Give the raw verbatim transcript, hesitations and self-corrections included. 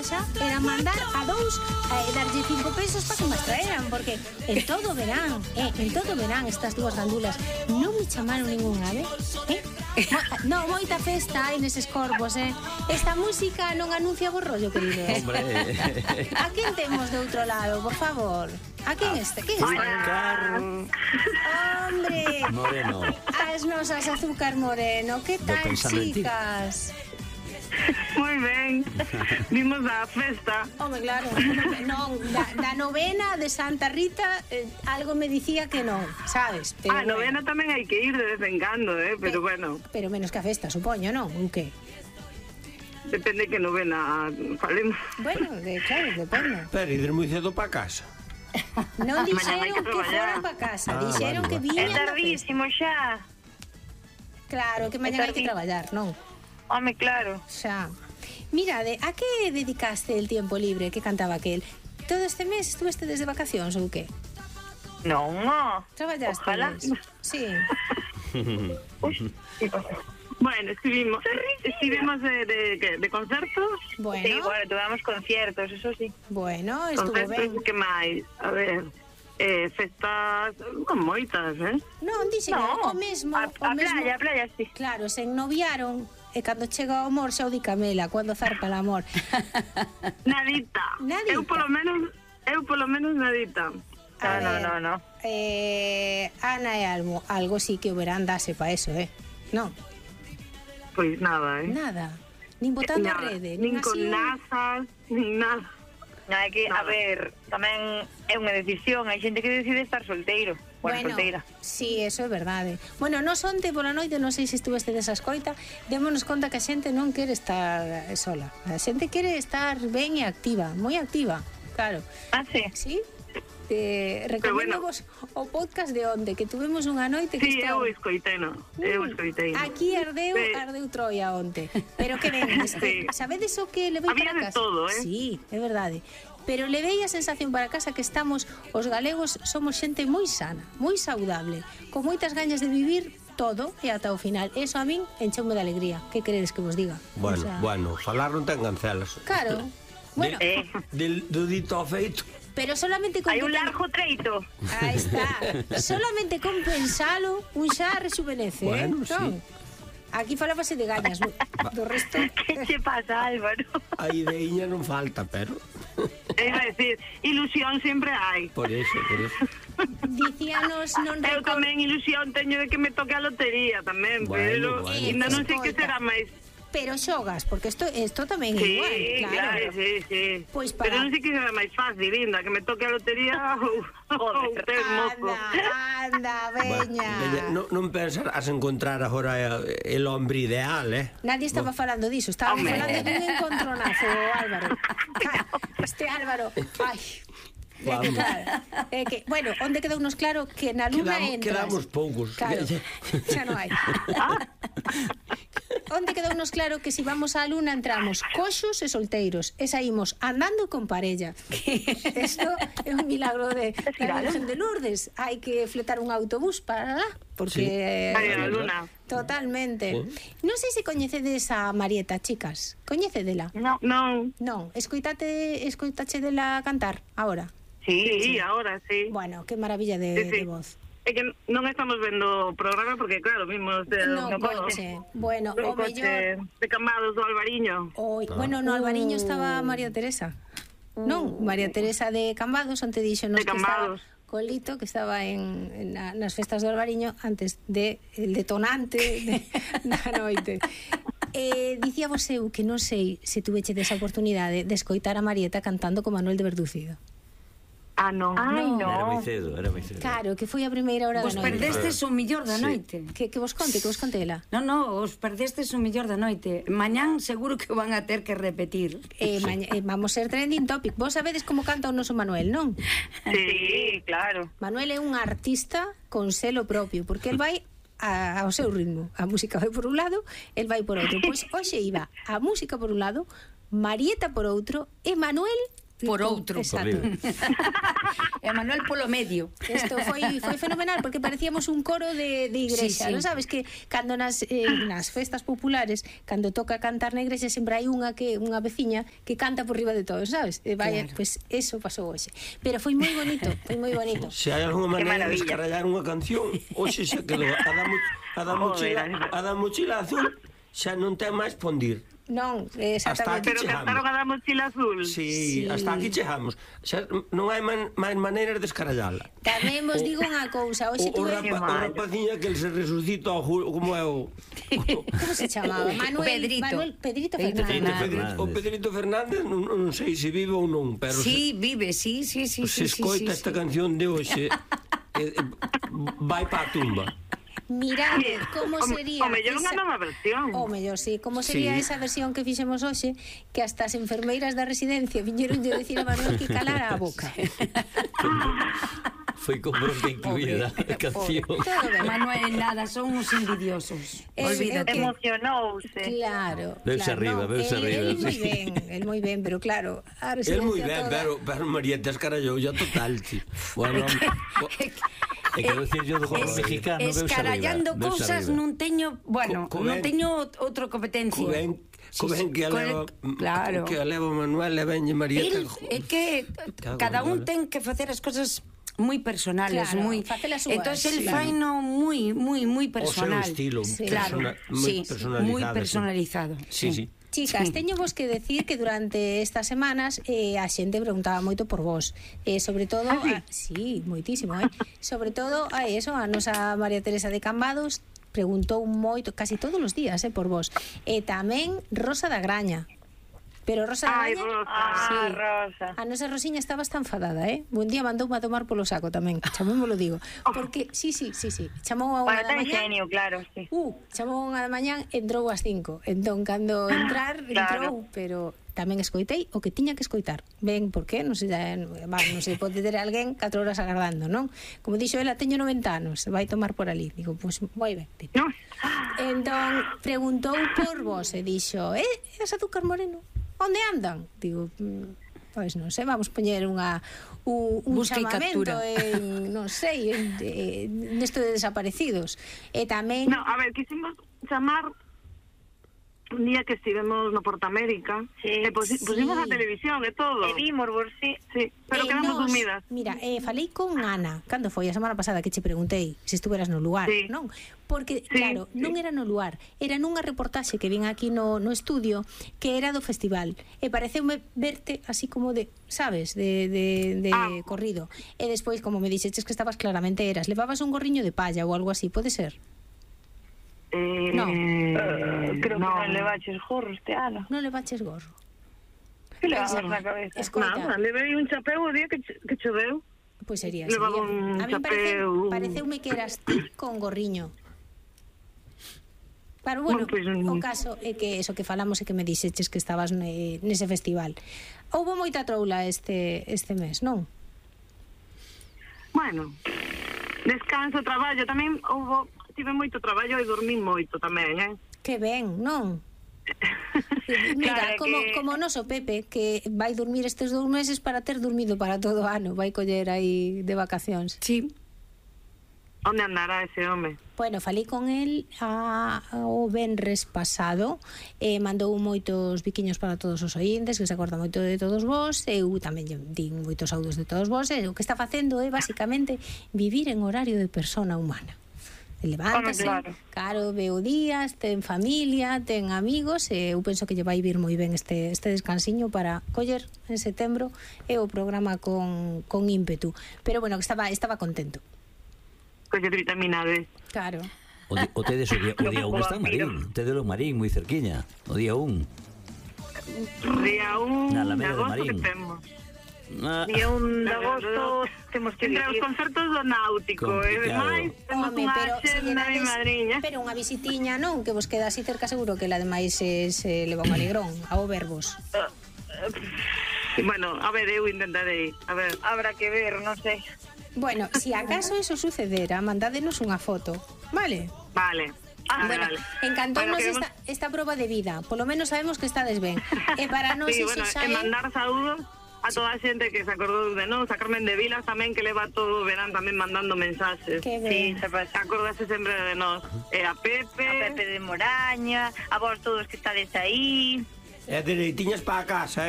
costumaba xa era mandar a dous e darlle cinco pesos para que me traeran, porque en todo verán, eh, en todo verán estas dúas gandulas non me chamaron ningún ave, eh? Mo, no, moita festa hai neses corpos, eh? Esta música non anuncia bo rollo, queridos. Hombre. A quen temos de outro lado, por favor? A quen este? Quen este? Azúcar Hombre, Moreno. as nosas Azúcar Moreno. Que tal, chicas? Moi ben. Vimos a festa. Home, claro. Non, da, da novena de Santa Rita eh, algo me dicía que non, sabes? Pero A bueno. novena tamén hai que ir de vez en cando, eh, pero Pe- bueno, Pero menos que a festa, supoño, non? Ou que? depende que novena falemos. Bueno, de, claro, depende. Pero ides moi cedo para casa. Non Mañana hai dixeron que que traballar. foran para casa, Ah, dixeron vale, que vale. viñan É da festa. tardísimo xa. Claro, que mañana hai que tardí- traballar, non? Home, claro. Xa. Mirade, a que dedicaste el tiempo libre que cantaba aquel? Todo este mes estuveste desde vacacións ou que? Non, no. Traballaste? Ojalá. Sí. Bueno, estivimos, estivimos de, de, de, de concertos. Bueno, Sí, bueno, tuvamos conciertos, eso sí. bueno, estuvo ben. Concertos, que máis? A ver, eh, festas con moitas, eh? Non, dixen No, o mesmo, a, o a mesmo. playa, a playa, sí. Claro, se ennoviaron e cando chega o amor xa o di Camela, cando zarpa el amor. Nadita. Nadita. Eu polo menos, eu polo menos nadita. A No, no, ver, no, no. Eh, Ana e Almo, algo sí que o verán dase pa eso, eh? Non, Pois nada, eh? nada. Nin botando a Nada. rede, Nin nin con así un- nazas, nin nada. No, hai que, a Nada. ver, tamén é unha decisión, hai xente que decide estar solteiro. Bueno, solteira. sí, eso é verdade. Bueno, nos onte pola noite, non sei se estuveste desa escoita, démonos conta que a xente non quere estar sola. A xente quere estar ben e activa, moi activa, claro. Ah, sí. Sí? Te recomendo bueno. vos o podcast de onde, que tuvemos unha noite que Sí, eu escoitei, no. Eu escoitei. Aquí ardeu, Sí. ardeu Troia onte. Pero que ben, este, Sí. sabedes o que levei Había para de casa? todo, eh? Sí, é verdade. Pero levei a sensación para casa que estamos, os galegos somos xente moi sana, moi saudable, con moitas gañas de vivir todo e ata o final. Eso a min encheume de alegría. Que queredes que vos diga? Bueno, O sea, bueno, falar non ten gancelas. Claro. Bueno, Eh, Del, do dito ao feito. pero solamente con hai que un ten- largo treito. Aí está. Solamente con pensalo, un xa rejuvenece, Bueno, eh? Non? Aquí falábase de gañas, do do resto... Que che pasa, Álvaro? A ideiña non falta, pero... E iba a decir, ilusión sempre hai. Por eso, por eso. Dicíanos non Eu recordo... tamén ilusión teño de que me toque a lotería tamén, Bueno, pero bueno. ainda non sei que Escoita. será máis. Pero xogas, porque isto isto tamén é Sí, igual, claro. claro, sí, sí. Pois para- Pero non sei que será máis fácil, linda, que me toque a lotería ou, ou ter mozo. Anda, anda, veña. Veña, non, non pensarás encontrar agora eh, el hombre ideal, eh? Nadie estaba falando diso, estaba Home. falando dun encontronazo, Álvaro. Este Álvaro, ai. É que, Vamos. claro, é que, bueno, onde quedou nos claro que na luna Quedamos- entras. quedamos poucos. Claro, xa non hai. Onde quedou nos claro que si vamos á luna entramos coxos e solteiros e saímos andando con parella. Isto é un milagro de da Virgen de Lourdes. Hai que fletar un autobús para lá, porque Sí. Ai, a luna. totalmente. Non sei se coñecedes a Marieta, chicas. Coñecedela? No. Non, Non, escoitate, escoitache dela cantar agora. sí, sí, ahora sí. Bueno, que maravilla de, Sí, sí. de voz. É que non estamos vendo o programa porque, claro, vimos de, No no coche. Bueno, no o coche mellor... de Cambados do Albariño. Oi, bueno, no Albariño estaba María Teresa. Non, María Teresa de Cambados, onte dixo nos De que estaba Cambados. Colito, que estaba en, en na, nas festas do Albariño antes de el detonante de, da noite. Eh, dicía vos eu que non sei se tuveche desa oportunidade de escoitar a Marieta cantando con Manuel de Verducido. Ah, non. Ai, No. Era moi no. cedo, era moi cedo. Claro, que foi a primeira hora Vos da noite. perdestes o millor da Sí. noite. Que, que vos conte, que vos conte ela. Non, non, os perdestes o millor da noite. Mañán seguro que o van a ter que repetir. Eh, maña, eh, vamos ser trending topic. Vos sabedes como canta o noso Manuel, non? Sí, claro. Manuel é un artista con selo propio, porque el vai a, ao seu ritmo. A música vai por un lado, el vai por outro. Pois hoxe iba a música por un lado, Marieta por outro, e Manuel por outro. Exacto. E Manuel polo medio. Isto foi foi fenomenal porque parecíamos un coro de, de igrexa, Sí, sí. non sabes que cando nas eh, nas festas populares, cando toca cantar na igrexa sempre hai unha que unha veciña que canta por riba de todos, sabes? E vai, Claro. pues eso pasou hoxe. Pero foi moi bonito, foi moi bonito. Se hai alguna Qué maneira de maravilla. descarallar unha canción, hoxe xa quedou. A da, mo- a da mochila, a da mochila azul xa non ten máis pondir. Non, Hasta exactamente. aquí Pero chegamos. cantaron a da mochila azul. Sí, Sí. hasta aquí chegamos. Xa non hai man, máis maneiras de descarallala. Tamén vos digo unha cousa, hoxe O, o, tuve... rapa, o rapaciña que el se resucita ao Julio, como é o... Como se chamaba? Manuel Pedrito. Manuel Pedrito Pedrito Fernández. O Pedrito, o Pedrito Fernández non, non sei se vive ou non, pero Sí, vive, sí, sí, sí, se, sí, se escoita sí, esta sí. canción de hoxe, eh, eh, vai pa a tumba. Mirade como O- sería o mellor unha nova versión. O mellor, sí, como sería Sí. esa versión que fixemos hoxe, que hasta as enfermeiras da residencia viñeron de decir a Manuel que calara a boca. Foi con bronca incluída a canción. Todo ben. Manuel, nada, son uns envidiosos. Es- Olvídate. é que- Emocionouse. Claro, Veuse claro, arriba, no, veuse el, arriba, el moi sí. ben, el moi ben, pero claro, a El residencia moi ben, toda... pero, pero María te escarallou ya total, ti. Bueno, E quero dicir yo do Es- mexicano, veuse Escarallando arriba, veuse cousas arriba. non teño, bueno, Co- co non ben- teño outra competencia. co ben, co Sí, ben sí, que a co- leva, claro. que a leva Manuel e venlle María. El, que- é que Cago cada en un bola. ten que facer as cosas moi personales, Claro, moi. facelas súas, Entonces el claro. fai no moi moi moi O seu personal. estilo, Sí. Claro, persona- moi sí, personalizado, moi sí. personalizado. Sí, sí. Chicas, Sí. teño vos que decir que durante estas semanas eh, a xente preguntaba moito por vos. Eh, sobre todo, Ah, sí? a, sí, moitísimo, eh? Sobre todo a eso, a nosa María Teresa de Cambados preguntou moito, casi todos os días, eh, por vos. E tamén Rosa da Graña. Pero Rosa da Ai, Graña... Rosa. Ah, Sí. Rosa. A nosa Rosiña estaba tan enfadada, eh? Un día mandoume a tomar polo saco tamén, chamémolo digo. Porque, sí, sí, sí, sí, chamou a unha Bueno, da ten mañá. genio, claro, sí. Uh, chamou unha da mañán, entrou ás cinco. Entón, cando entrar, entrou, Claro. pero tamén escoitei o que tiña que escoitar. Ben, por qué? Non sei, eh, va, non sei, pode ter alguén catro horas agardando, non? Como dixo ela, teño noventa anos, vai tomar por ali. Digo, pois, pues, moi ben. No. Entón, preguntou por vos e dixo, eh, es Azúcar Moreno? Onde andan? Digo, mm, pois non sei, vamos poñer unha un, un Busca e chamamento captura. en, non sei, en, en, nesto de desaparecidos. E tamén... No, a ver, quisimos chamar un día que estivemos no Portamérica, Sí. e posi- pusimos Sí. a televisión e todo. E vimos, por sí. Sí, pero Eh, quedamos nos- dormidas. Mira, eh, falei con Ana cando foi a semana pasada que che preguntei se estuveras no lugar, Sí. non? Porque, Sí, claro, non era no lugar, era nunha reportaxe que vin aquí no, no estudio que era do festival e pareceume verte así como de, sabes, de, de, de Ah. corrido. E despois, como me dixeches que estabas claramente eras, levabas un gorriño de palla ou algo así, pode ser? Eh, No. Uh, creo no. que non le baches gorro este ano. Non levaches gorro. Que le Pois, vamos na cabeza? escoita. Nada, levei un chapeu o día que, ch- que choveu. Pois sería, Levaba sería. un A mí parece, chapeu. pareceume que eras ti con gorriño. Pero bueno, Bueno, pois, o mm. caso é que eso que falamos é que me dixeches que estabas ne, nese festival. Houbo moita troula este este mes, non? Bueno, descanso, traballo, tamén houbo, tive moito traballo e dormí moito tamén, eh? Que ben, non? Mira, Claro, como, que- como o noso Pepe, que vai dormir estes dous meses para ter dormido para todo o ano, vai coller aí de vacacións. Sí. Onde andará ese home? Bueno, falei con el a, o venres pasado e mandou moitos biquiños para todos os oíntes, que se acorda moito de todos vos. Eu tamén lle din moitos audios de todos vos, e o que está facendo é basicamente vivir en horario de persona humana. Levántase, Home, claro. claro, veo días, ten familia, ten amigos, e eu penso que lle vai vir moi ben este, este descansiño para coller en setembro e o programa con, con ímpetu. Pero bueno, que estaba, estaba contento. Coller vitamina D. Claro. O, di, o tedes o día, o día un está en Marín. Tedes o Marín moi cerquiña. O día un. Día un Na de Alameda de agosto que Marín. temos. Ah, Día un de agosto temos que Entre os vivir. concertos do Náutico, e Complicado. demais temos Home, unha pero se lle xenda mi dades- madriña. pero unha visitiña non, que vos queda así cerca, seguro que la demais se, se leva un alegrón ao verbos. Bueno, a ver, eu intentarei. A ver, Habrá que ver, non sei. Bueno, si acaso eso sucedera, mandádenos unha foto, vale? vale. Ah, Vale, bueno, vale. encantounos Bueno, queremos- esta, esta proba de vida. Polo menos sabemos que estades ben. E para nós Sí, iso bueno, xa e é... mandar saúdos a toda a xente que se acordou de nós, a Carmen de Vilas tamén, que leva todo o verán tamén mandando mensaxes. Que Sí, ben. se pasa. Acordase sempre de nós. E a Pepe... A Pepe de Moraña, a vos todos que estades aí. E dereitiñas para a casa,